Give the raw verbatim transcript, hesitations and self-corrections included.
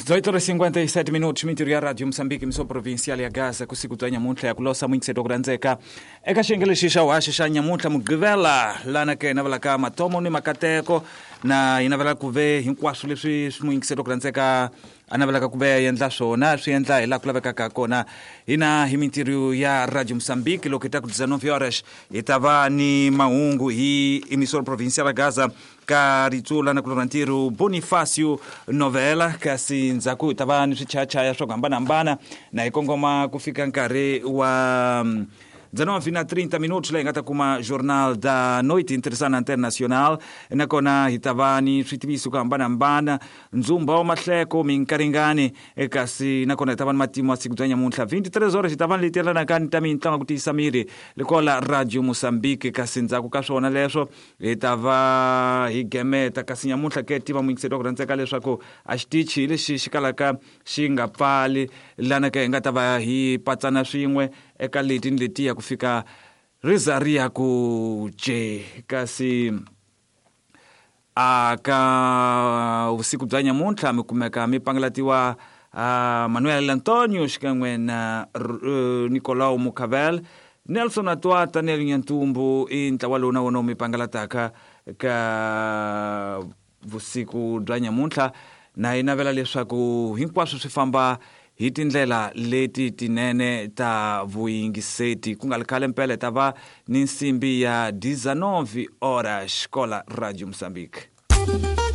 dezoito horas e cinquenta e sete minutos, mintirho ya Radio Moçambique, emissão provincial ya Gaza, kusiku bya nyamuntlha ya ku losa muyingiseti wa ku rhandzeka eka xiyenge lexi xa vuhaxi xa nyamuntlha Mugqivela, lana ke hi navelaka matomo ni makateko, na hi navela ku ve hinkwaswo leswi swi muyingiseti wa ku rhandzeka a navelaka ku ve endla swona swi endla hi laha ku lavekaka kona. Hina hi mintirho ya Radio Moçambique, loko hi ta ku dezenove horas hi ta va ni mahungu hi emissora provincial ya Gaza ka ritsula na ku lora ntirho Bonifacio Novela, kasi ndzhaku hi ta va ni swichayachaya swa ku hambanahambana na hi kongoma ku fika nkarhi wa dezenove na trinta minutos, laha hi nga ta kuma Jornal da Noite Interessana Internacional, nakona hi ta va ni switiviso ku hambanahambana, ndzumba wa mahleko minkaringani, kasi nakona hi ta va ni matimu ya siku bya nyamuntlha vinte e três horas hi ta va ni leti yelanaka ni ta mitlangu ku tiyisa miri likola Radio Moçambique, kasi ndzhaku ka swona leswo hi ta va hi gemeta. Kasi nyamuntlha ke tiva muyingiseri wa ku rhandzeka leswaku a xitichi hi lexi xi kalaka xi nga pfali, lana ke hi nga ta va hi patsana swin'we eka leti ni letiya ku fika riza ri ya ku je. Kasi a ka vusiku bya nyamuntlha mi kumeka mi pangalatiwa uh, Manuel Antonio xikan'we na uh, Nicolau Mucavel, Nelson Atwata, Nel Nyantumbu i ntlawa lowu na wona mi pangalataka ka vusiku bya nyamuntlha, na hi navela leswaku hinkwaswo swi famba hi tindlela leti tinene ta vuyingiseti. Ku nga ri khale mpela hi ta va ni nsimbi ya dezenove horas kola Radio Moçambique.